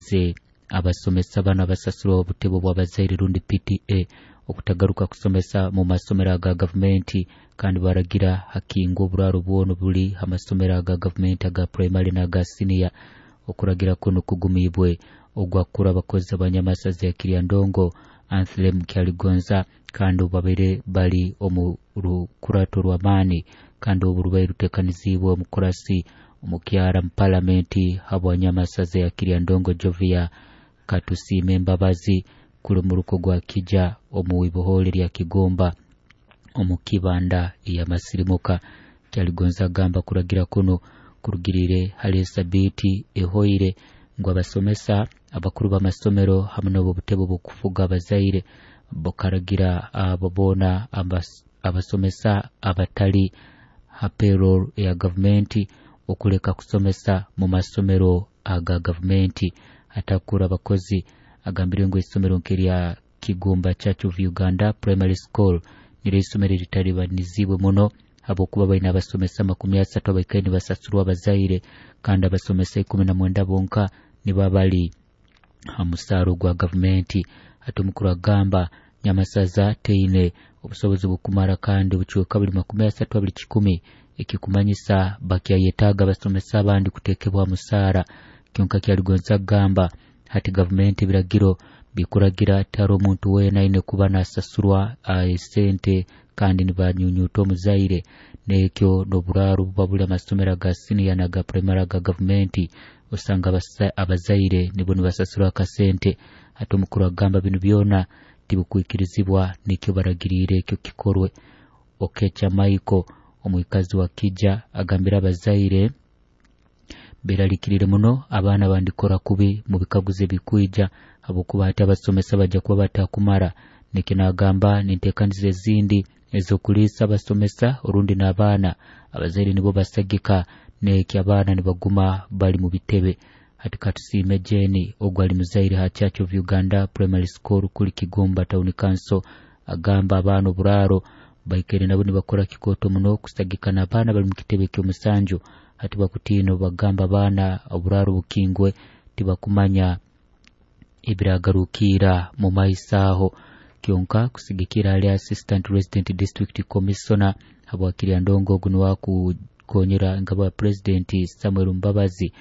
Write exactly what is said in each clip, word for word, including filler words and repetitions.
Aragize abasomesa bano abasasurwa obutebe bw'abazaire rundi P T A okutagaruka kusomesa mu masomero aga gavumenti, kandi baragira hakingwa oburaro bwono buli amasomero aga gavumenti aga primary n'aga senior. Okuragira kuno kugumibwe ogwakura abakozi abanyamasaza ya Kiryandongo Anthlem Kyaligonza, kandi obabaire bali omu rukurato rw'amaani, kandi obu rubaire rutekanizibwe omukurasi omukyara mu palamenti habwanyamasaza ya Kiryandongo Jovia Katusime Mbabazi kuli muruko gwa Kija omu ibohole lya Kigomba omu kibanda ya Masirimuka. Kyaligonza agamba kuragira kuno kurugirire hali sabiti ehoire ngu abasomesa abakuru b'amasomero hamwe n'obutebe bw'okufuga abazaire bukaragira abo boona abasomesa abatali ha payroll ya gavumenti okuleka kusomesa mu masomero aga gavumenti. Atakura abakozi agambire ngu isomero nk'erya Kigumba Church of Uganda Primary School niryo isomero eritalibanizibwe muno habwokuba baina abasomesa makumi asatu abaikaire nibasasurwa abazaire, kandi abasomesa ikumi na mwenda bonka nibo bali ha musaaro gwa gavumenti. Ate omukuru agamba Nyamasaza teine obusobozi bukumara kandi obucweka buli makumi asatu abiri kikumi, ekikumanyisa bakyayetaaga abasomesa abandi kutekebwa musaara. Kyonka Kyaligonza agamba hati gavumenti ebiragiro bikuragira tihariho omuntu weena aine kuba nasasurwa esente kandi nibanyunyuta omuzaire, nekyo n'oburaaro buba buli amasomero aga siniya n'aga primary aga gavumenti osanga abazaire nibo nibasasura akasente. Ate omukuru agamba binu byona tibikwikirizibwa, nikyo baragiriire ekyo kikorwe. Okecha Michael omwikazi wa Kija agambira abazaire beralikirire muno abaana bandikora kubi mu bikaguzo ebikwija habwokuba hati abasomesa bajja kuba batakumara. Nikyo nagamba ninteekaniza ezindi ez'okuliisa abasomesa orundi n'abaana abazaire nibo basagika, nekyo abaana nibaguma bali mu bitebe. Hati Katusiime Jeni ogwo ali muzaire ha Church of Uganda Primary School kuli Kigumba Town Council agamba abaana oburaaro baikaire nabo nibakora kikooto muno kusagika n'abaana bali mu kitebe ky'omusanju. Hati bakutiina bagamba abaana oburaaro bukingwe tibakumanya ebiragarukiira mu maiso aho. Kyonka kusigikira hali Assistant Resident District Commissioner habwa Kiryandongo ogu niwe akukonyera ngabo ya President Samuel Mbabazi,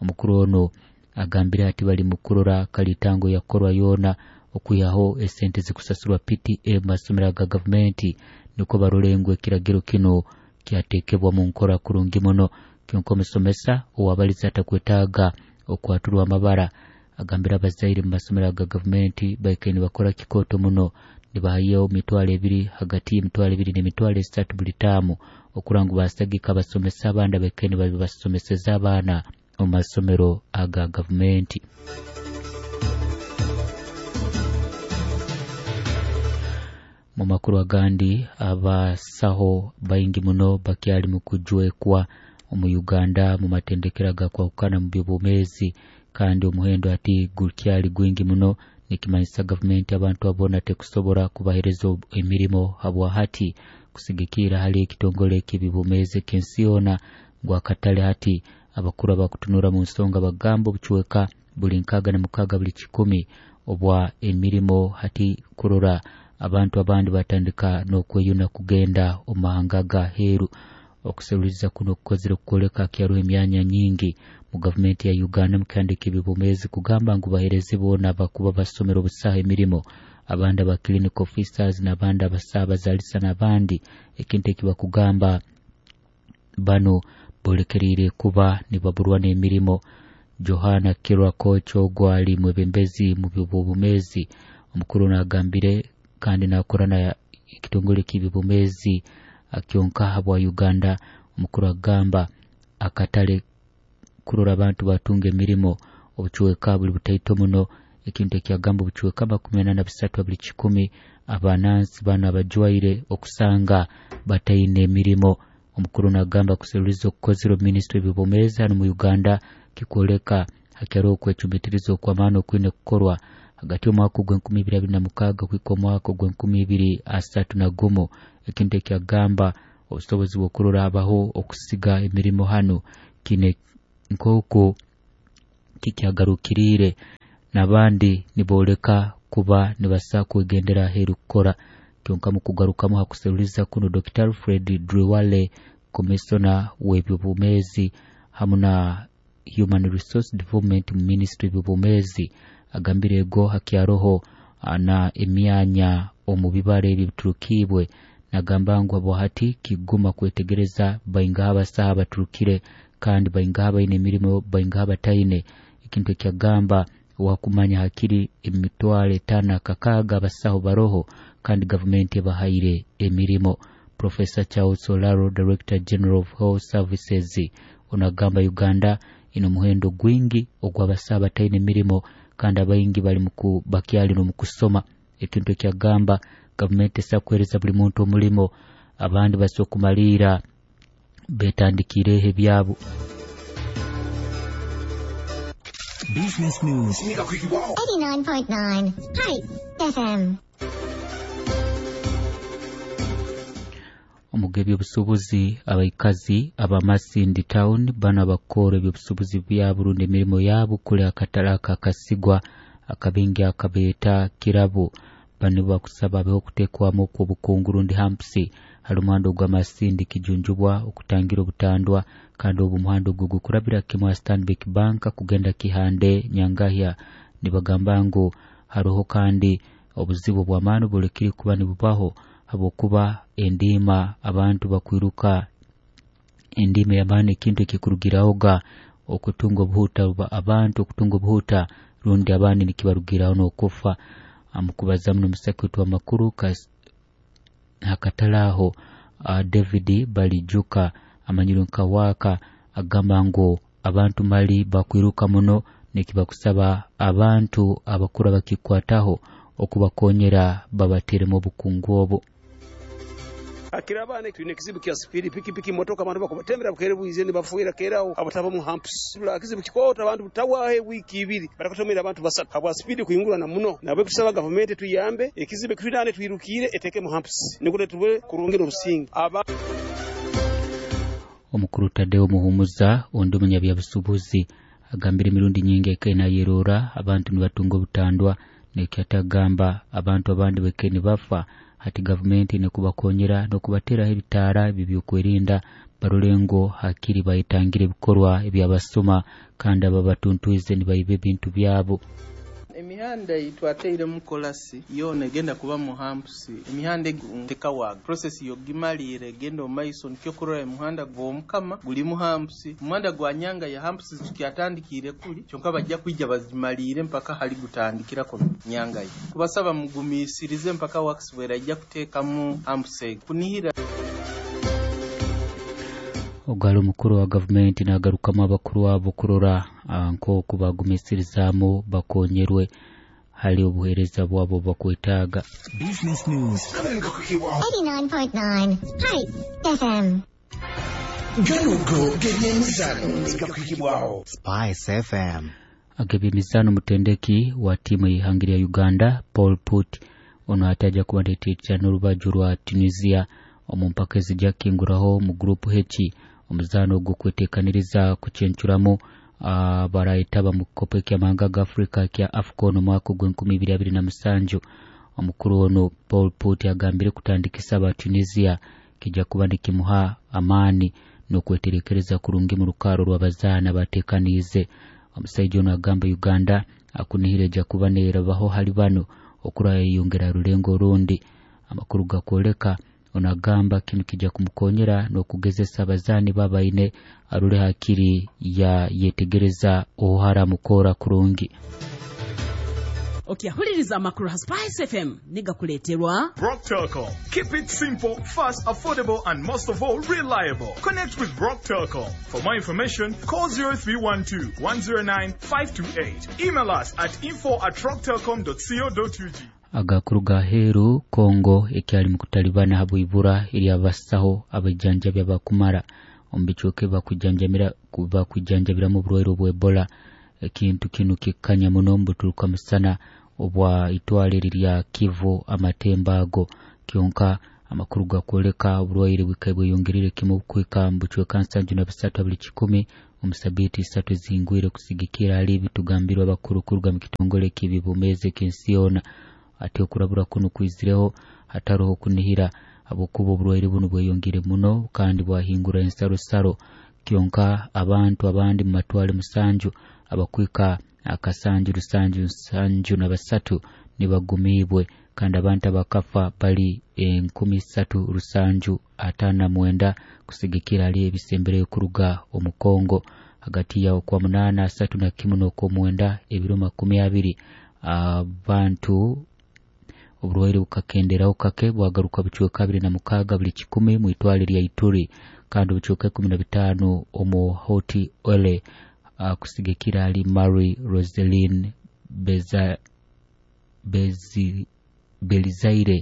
omukuru ono agambire ati bali mukurora kalitango yakorwa yoona okwihaho esente zikusasurwa P T A mu masomero aga gavumenti niko barole ngu ekiragiro kino kyatekebwa mu nkora kurungi muno. Kyonka omusomesa owabaliza atakwetaaga okwaturwa amabara agambira abazaire mu masomero aga gavumenti baikaire nibakora kikooto muno, nibahayo mitwalo ebiri hagati y'emitwalo ebiri n'emitwalo esatu buli taamu okura ngu basagika abasomesa abandi abaikaire nibabasomeseza abaana omu masomero aga gavumenti. Mu makuru agandi, abasaho baingi muno bakyali mu kujwekwa omu Uganda mu matendekero agakwahukana mu by'obwomeezi, kandi omuhendo ati gukyali gwingi muno, nikimanyisa gavumenti abantu abona tekusobora kubahereza emirimo habwa hati kusigikira hali ekitongole eky'ebyobwomeezi eky'ensi yoona ngu akatale hati abakuru abakutunura mu nsonga bagamba obucweka buli nkaaga na mukaaga buli kikumi obwa emirimo hati kurora abantu abandi batandika n'okweyuna kugenda omu mahanga agaheeru. Okuseruliza kuno kukozire kukoleka kyaruho emyanya nyingi mu gavumenti ya Uganda mukandika ebyobwomeezi kugamba ngu bahereze boona abakuba basomera obusaha emirimo, abandi aba clinic officers n'abandi abasabazalisa n'abandi, ekintu ekibakugamba bano bolekerire kuba nibaburwa n'emirimo. Johana Kirwa Koch ogwo ali mwebembezi mu byobwomeezi omukuru nagambire kandi nakora na ekitongole ky'ebyobwomeezi kyonka habwa Uganda. Omukuru agamba akatale kurora abantu batunga emirimo obucweka buli butaito muno, ekintu ekyagamba obucweka makumi ana na bisatu buli kikumi abanansi bano abajwaire okusanga bataine emirimo. Omukuru nagamba kuseruliza okukozire minisitule y'ebyobwomeezi hano mu Uganda kikwoleka hakyariho okwecumitiriza okw'amaani okwine kukorwa hagati y'omwaka ogw'enkumi ibiri abiri na mukaaga kuhika omwaka ogw'enkumi ibiri asatu na gumu, ekintu ekyagamba obusobozi bw'okurora habaho okusiga emirimo hano kine nk'oku Eki kyagarukiriire n'abandi nibooleka kuba nibasa kwegendera aheeru kukora. Kyonka mu kugarukamu ha kuseruliza kuno, Dokita Alfred Driwale, komisona w'eby'obwomeezi hamu na Human Resource Development mu Ministry y'eby'obwomeezi, agambire ego hakyaroho na emyanya omu bibara ebi biturukiibwe. Nagamba ngu habwahati kiguma kwetegereza baingaha abasaha baturukire kandi baingaha baine emirimo, baingaha bataine. Ekintu ekyagamba wakumanya hakiri emitwaro etaano akakaaga abasaho baroho kandi gavumenti ebahaire emirimo. Professor Charles Olaro, Director General of Health Services, onagamba Uganda ina omuhendo gwingi ogw'abasaho bataine emirimo kandi abaingi bali muku bakyali n'omukusoma. Ekintu ekyagamba gavumenti esobola kuheereza buli muntu omulimo, abandi basobola kumaliira betandikiireho ebyabo. Business News eighty-nine point nine Hype F M. Omuga ebyobusuubuzi abaikazi aba Masindi Town bano abakora ebyobusuubuzi byabo rundi emirimo yabo kuli akatale akakasigwa akabingi akabeeta Kirabo. Bano bakusaba abeho okuteekwamu okw'obukungu rundi hampsi hali omuhanda ogwa Masindi Kijunjubwa okutangira obutandwa, kandi obu muhanda ogwo gukurabira kimwe Stanbic Bank kugenda Kihande Nyangahya. Nibagamba ngu haroho kandi obuzibu bw'amaani bulekire kuba nibubaho habwokuba endiima abantu bakwiruka endiima y'amaani, ekintu ekikurugirahoga okutunga obuhuta abantu okutunga obuhuta rundi abandi nikibarugiraho n'okufa. Amukubaza muno omusaki wetu w'amakuru hakatale aho David Balijuka amanyirwe nka Waka agamba ngu abantu mali bakwiruka muno nekibakusaba abantu abakuru abakikwataho okubakonyera babateremu obukungu obu. Akirabane twine kizibu kya spidi pikipiki motoka abantu bakubatembera bukere bwize ni bafuira kerao abataba mu humps la kizibu kikota abantu butawahe wiki ibiri barakutomera abantu basatu habwa spidi kuingura na muno nabwe kusaba government tuyambe ekizibu kitwinane twirukire eteke mu humps nikule tubwe kurungira obusingi. Aba omukuru Tadeo Muhumuza ondi omunyabyabusubuzi agambire emirundi nyingi ekaina yerora abantu nibatunga obutandwa nekyatagamba abantu abandi beke nibafa. Hati gavumenti nekubakonyera nokubateraho ebitaara ebyokwerinda barulengo hakiri bayitangire ebikorwa ebyabasoma kandi ababatuntwize nibaiba ebintu byabo. Emihanda itwateire mu kolasi yona egenda kuba mu humps emihanda tekawaga process yogimalire egenda omaiso nikyo kurora emuhanda gw'omukama guli mu humps omuhanda gwa Nyanga ya humps tukyatandikire kuli kyonka bajja kwijja bazimalire mpaka hali gutandikirako Nyanga ye kubasaba mugumisirize mpaka works bwerajja kuteekamu humps kunihira. Ogalo mukuru wa gavumenti nagarukamu abakuru abo kurora nk'oku bagumisirizaamu bakonyerwe hali obuheereza bwabo bakwetaaga. Business News eighty-nine point nine Hype F M. Ganugo gebyemizano gakwikibwaho Spice F M. Agebyemizano mutendeki wa timu y'ihanga lya Uganda Paul Put ono ataja kubandeetera n'orubaju rwa Tunisia omu mpaka ezijja kinguraho mu group H omuzaano ogw'okweteekaniriza kucencuramu barayetaba mu kikopo eky'amahanga ga Afrika kya AFCON omwaka ogw'enkumi ibiri abiri na musanju. Omukuru ono Paul Put agambire kutandikisa aba Tunisia kijja kuba nikimuha amaani n'okweterekereza kurungi mu rukaaro rw'abazaana bateekaniize. Omusaija ono agamba Uganda akunihire ejja kuba neerabaho hali bano okurayeyongera rulengo orundi. Amakuru gakwoleka onagamba kinu kijja kumukonyera n'okugezesa abazaani babaine arule hakiri ya yetegereza obuhara mukora kurungi. Okyahuliriza amakuru ha Spice F M nigakuleeterwa Brock Telcom. Keep it simple, fast, affordable and most of all reliable. Connect with Brock Telcom. For more information, call zero three one two, one zero nine, five two eight. Email us at info at rocktelcom dot co dot U G. Agakuru ga heru Kongo ekyali mu kutalibana habwibura eri abasaho abajjanjabi abakumara omu bicweka bakujanjamira bakujanjabiramu oburwaire obwa Ebola. Ekintu kinu kikanya muno mbuturuka musana obwa itwale lya Kivu amatemba ago kyonka Amakuru gakwoleka oburwaire bwikaire bweyongerire kimu kuhika mu bucweka nsanju na busatu buli kikumi omu sabiiti isatu ezingwire kusigikira hali bitugambirwe abakuru kuruga mu kitongole ky'ebyobwomeezi eky'ensi yoona. Ati okurabura kuno kwizireho hataroho kunihira habwokuba oburwaire bunu bweyongire muno kandi bwahingura ensarosaro. Kyonka abantu abandi mu matwale musanju abakwika akasanju rusanju nsanju na basatu nibagumiibwe kandi abantu abakafa bali enkumi isatu rusanju ataano na mwenda kusigikira hali ebisembereyo kuruga omu Kongo. Hagati ya okwa munaana asatu na kimu n'okwomwenda ebiro makumi abiri abantu oburwaire bukakenderaho kake bwagaruka bucweka abiri na mukaaga buli kikumi mu itwale lya Ituri kandi obucweka ikumi na bitaano omu Hoti Ole uh, kusigikira hali Mary Roseline Beza, Bezi, Belizaire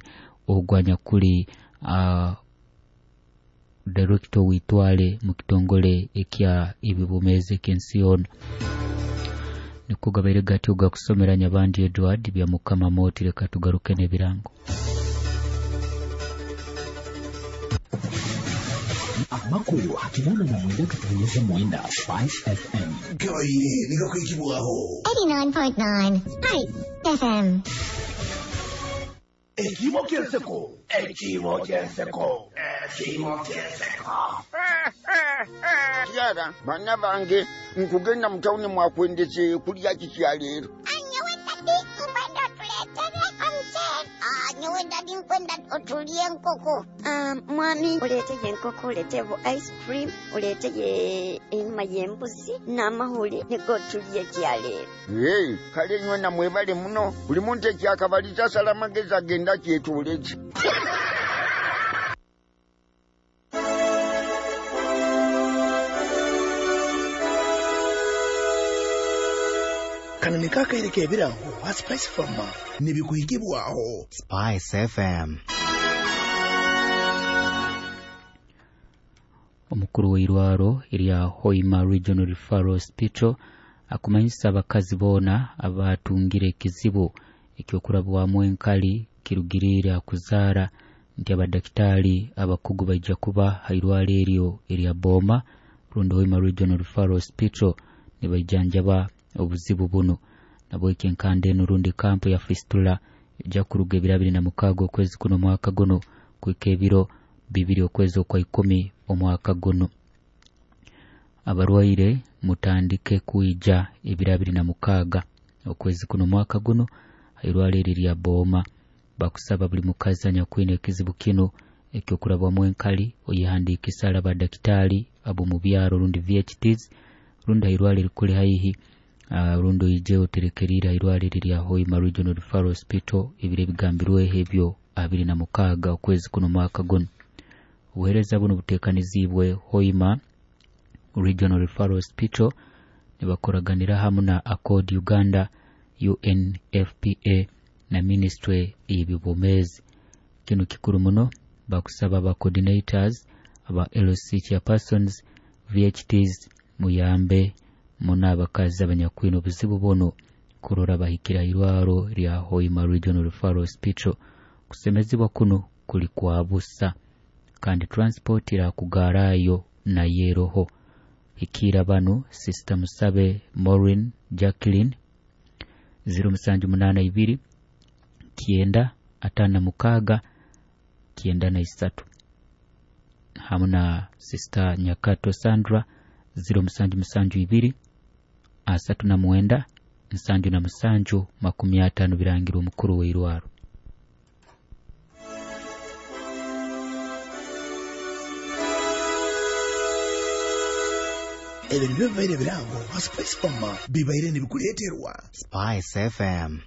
ogwanyakuli uh, director witwale mu kitongole ekya ebyobwomeezi eky'ensi yoona. Niko gabaire gatyo gakusomera Nyabandi Edward bya Mukama Moti. Leka tugaruke n'ebirango. Amakuru hakinana na mwenda katonyeza mwenda Spice F M. Gabaire nigakwikibwaho eighty-nine point nine Spice F M. Ekimo ky'enseko, ekimo ky'enseko, ekimo ky'enseko. Kyara, bana bange, nkugenda mu tawuni mwakwendeze kulya kiki leero? Nyowe dadi nkwenda otuleetere omuceere. Nyowe dadi nkwenda otulye enkoko. Mwami, oleeteye enkoko, oleeteyo ice cream, oleeteye enyama y'embuzi n'amahuli nigo tulye kyaleero. Hey, kale nywena mwebale muno. Buli muntu ekyakabaliza asala amagezi agenda kyetuuleze. Kano ni kakaire k'ebirango ha Spice Farmer nibikuhikibwaho Spice F M. Omukuru w'eirwaro erya Hoima Regional Referral Hospital akumanyisa abakazi boona abatungire ekizibu ekyokurabwamu enkali kirugiriire akuzaara nti abadakitaali abakugu baija kuba ha irwaro eryo erya Boma rundi Hoima Regional Referral Hospital nibaijanjaba obuzibu buno. Nabweki enkanda eno rundi kampu ya fistula ejja kuruga ebiro abiri na mukaaga okwezi kuno omwaka guno kuhika ebiro bibiri okwezi okwa ikumi omwaka guno. Abarwaire mutandike kwija ebiro abiri na mukaaga okwezi kuno omwaka guno hairwaro eri lya Boma. Bakusaba buli mukazi anyakwine ekizibu kino ekyokurabwamu enkali oyehandiikisa ala badakitaali ab'omu byaro rundi V H Ts rundi hairwaro erikuli haihi Uh, rundi oije oterekerire hairwaro eri lya Hoima Regional Referral Hospital ebiro ebigambirweho ebyo abiri na mukaaga okwezi kuno omwaka guno. Obuheereza buno buteekaniziibwe Hoima Regional Referral Hospital nibakoraganira hamu na Accord Uganda, U N F P A na Ministry y'ebyobwomeezi. Kino kikuru muno, bakusaba aba coordinators, aba L C chairpersons, V H Ts muyambe muno abakazi abanyakwine obuzibu buno kurora bahikira irwaro lya Hoima Regional Referral Hospital. Kusemezibwa kuno kuli kwa busa kandi transport irakugarayo na yeroho. Hikira bano Sister Musabe Maureen Jacqueline ziro musanju munana ibiri kienda atana mukaga kienda na isatu hamu na Sister Nyakato Sandra ziro musanju musanju ibiri asatu na mwenda nsanju na musanju makumi atano birangirwa omukuru w'eirwaro. Ebyo nibyo bibaire ebirango ha Spice Farmer bibaire nibikuleeterwa Spice F M.